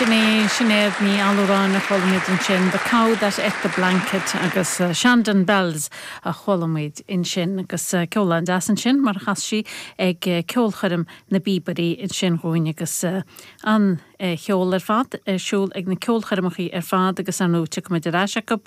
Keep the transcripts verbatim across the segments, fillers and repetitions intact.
Sin é Sinéad Ní Allúráin a chuala muid ansin The Cow That Ate the Blanket agus uh, Shandon Bells a chuala muid ansin agus uh, ceol an-deas ansin mar chas sí ag uh, ceolchoirm na bpíobairí ansin dhúinn agus uh, an uh, cheol ar fad ar siúl ag na ceolchoirmeacha ar fad agus an nóte go acu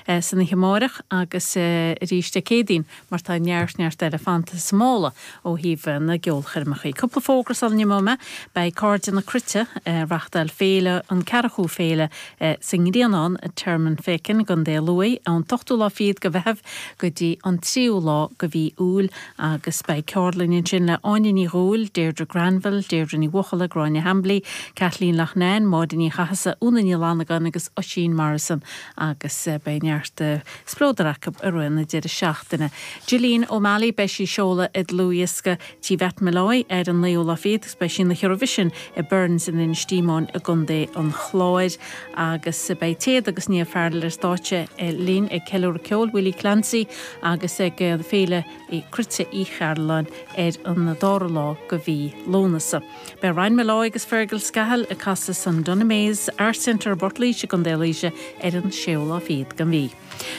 uh, san himáireach agus uh, arís Dé Céadaoin mar tá neart neart eile fanta sa mála ó thaobh na gceolchoirmeacha. Cúpla fógra sula n-imeoidh mé beidh Cairde na Cruite uh, reáchtáil féile an ceathrú féile uh, sa nGrianán i Tearmann Féiceann Contae Lú an t-ochtú lá fichead de Mheitheamh go dtí an tríú lá de mhí Iúil agus beidh ceardlann ansin le Áine Ní Dhúill, Deirdre Granville, Deirdre Ní Bhuachalla Gráinne Hambly, Kathleen Lachnán, Máire Ní Chathasaigh Úna Ní Fhlannagáin agus Oisín Morrison agus uh, beidh neart uh, spleodar acu ar na deireadh seachtaine. Gillian O'Malley beidh sí ag seoladh a dlúthdhiosca Tí Molloy ar an naoú lá fichead agus beidh sí na Eurovision i Burns in Ennistymon i gContae an Chláir agus beidh Téad agus Niamh Farrell ar stáitse linn ag ceiliúradh ceol Willie Clancy agus ag féile i Cruite Uí Chearláin ar an dara lá de mhí Lúnasa. Beidh Ryan Molloy agus Fergal Scahill ag casadh san Dunamaise Arts Centre Bhortlaoise Contae Laoise ar an séú lá fichead den mhí.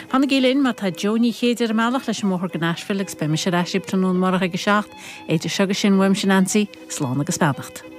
Fanaigí linn má tá Joe Ní Chéide ar an mbealach leis an mbóthar go Nashville agus beidh mise ar ais tráthnóna amárach ag a seacht, idir seo agus sin uaimse Nancy, slán agus beannacht.